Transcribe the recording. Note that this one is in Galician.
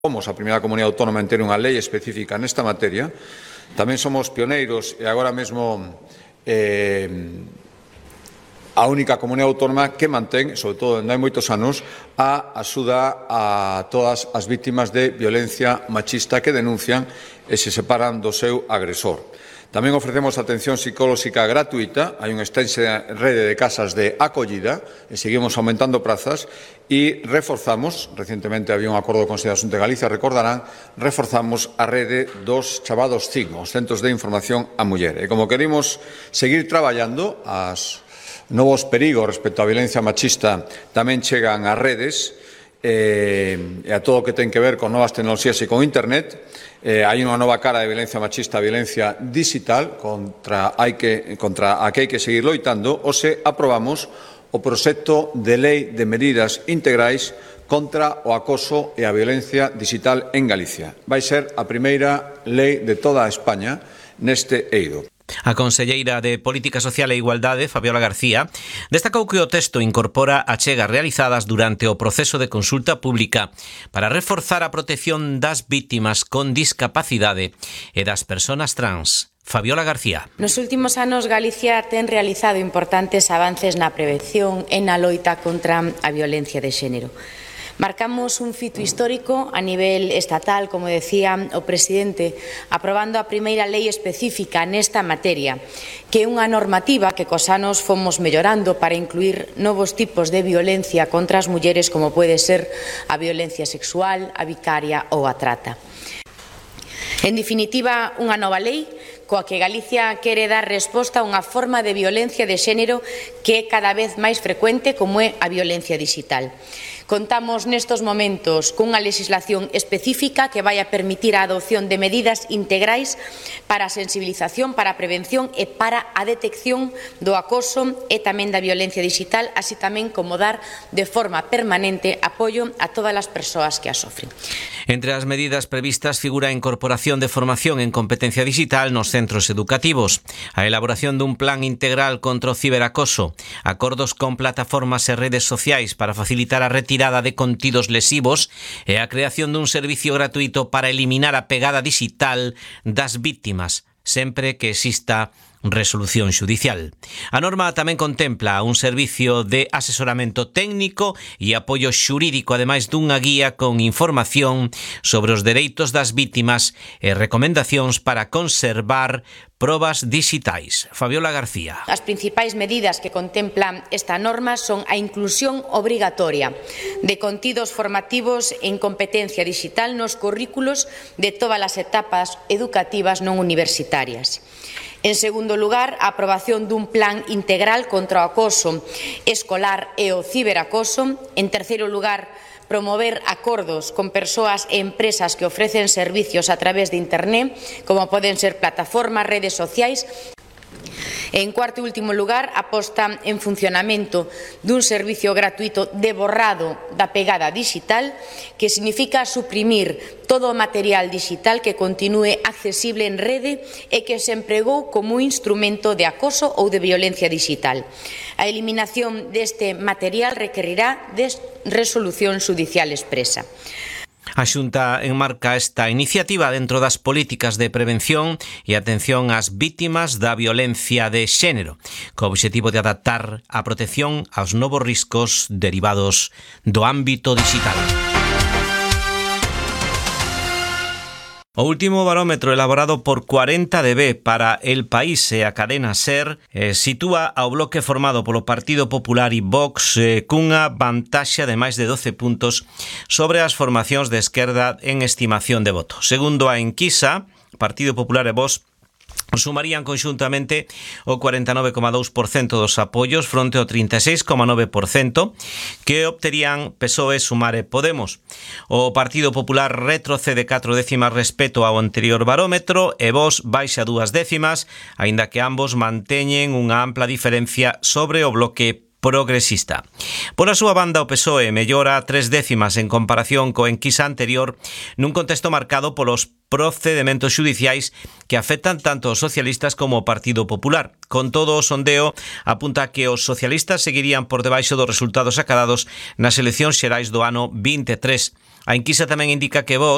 Somos a primeira comunidade autónoma en ter unha lei específica nesta materia. Tamén somos pioneiros e agora mesmo a única comunidade autónoma que mantén, sobre todo onde hai moitos anos, a axuda a todas as vítimas de violencia machista que denuncian e se separan do seu agresor. Tamén ofrecemos atención psicolóxica gratuita, hai unha extensa rede de casas de acollida e seguimos aumentando prazas e reforzamos, recientemente había un acordo con Consello de Asunto de Galicia, recordarán, reforzamos a rede dos chamados CIN, os Centros de Información á Muller. E como queremos seguir traballando, as novos perigos respecto á violencia machista tamén chegan ás redes e a todo o que ten que ver con novas tecnoloxías e con Internet. Hai unha nova cara de violencia machista, a violencia digital, contra a que hai que seguir loitando, ou se aprobamos o proxecto de lei de medidas integrais contra o acoso e a violencia digital en Galicia. Vai ser a primeira lei de toda España neste eido. A conselleira de Política Social e Igualdade, Fabiola García, destacou que o texto incorpora achegas realizadas durante o proceso de consulta pública para reforzar a protección das vítimas con discapacidade e das persoas trans. Fabiola García. Nos últimos anos Galicia ten realizado importantes avances na prevención e na loita contra a violencia de xénero. Marcamos un fito histórico a nivel estatal, como decía o presidente, aprobando a primeira lei específica nesta materia, que é unha normativa que cos anos fomos mellorando para incluir novos tipos de violencia contra as mulleres, como pode ser a violencia sexual, a vicaria ou a trata. En definitiva, unha nova lei coa que Galicia quere dar resposta a unha forma de violencia de xénero que é cada vez máis frecuente, como é a violencia digital. Contamos nestos momentos cunha legislación específica que vai a permitir a adopción de medidas integrais para a sensibilización, para a prevención e para a detección do acoso e tamén da violencia digital, así tamén como dar de forma permanente apoio a todas as persoas que a sofren. Entre as medidas previstas figura a incorporación de formación en competencia digital nos centros educativos, a elaboración dun plan integral contra o ciberacoso, acordos con plataformas e redes sociais para facilitar a retirada de contidos lesivos e a creación dun servicio gratuito para eliminar a pegada digital das vítimas, sempre que exista resolución xudicial. A norma tamén contempla un servicio de asesoramento técnico e apoio xurídico, ademais dunha guía con información sobre os dereitos das vítimas e recomendacións para conservar probas digitais. Fabiola García. As principais medidas que contemplan esta norma son a inclusión obrigatoria de contidos formativos en competencia digital nos currículos de todas as etapas educativas non universitarias. En segundo lugar, a aprobación dun plan integral contra o acoso escolar e o ciberacoso. En terceiro lugar, promover acordos con persoas e empresas que ofrecen servicios a través de Internet, como poden ser plataformas, redes sociais. En cuarto e último lugar, a posta en funcionamento dun servicio gratuito de borrado da pegada digital, que significa suprimir todo o material digital que continúe accesible en rede e que se empregou como instrumento de acoso ou de violencia digital. A eliminación deste material requerirá de resolución xudicial expresa. A Xunta enmarca esta iniciativa dentro das políticas de prevención e atención ás vítimas da violencia de xénero, co obxectivo de adaptar a protección aos novos riscos derivados do ámbito digital. O último barómetro elaborado por 40DB para El País e a cadena SER sitúa ao bloque formado polo Partido Popular e Vox cunha vantaxe de máis de 12 puntos sobre as formacións de esquerda en estimación de voto. Segundo a enquisa, Partido Popular e Vox sumarían conxuntamente o 49,2% dos apoios fronte ao 36,9% que obterían PSOE, Sumar e Podemos. O Partido Popular retrocede 4 décimas respecto ao anterior barómetro e Vox baixa 2 décimas, aínda que ambos manteñen unha ampla diferencia sobre o bloque progresista. Pola súa banda, o PSOE mellora 3 décimas en comparación co enquisa anterior nun contexto marcado polos procedementos xudiciais que afectan tanto os socialistas como o Partido Popular. Con todo, o sondeo apunta que os socialistas seguirían por debaixo dos resultados acadados nas eleccións xerais do ano 23. A enquisa tamén indica que Vox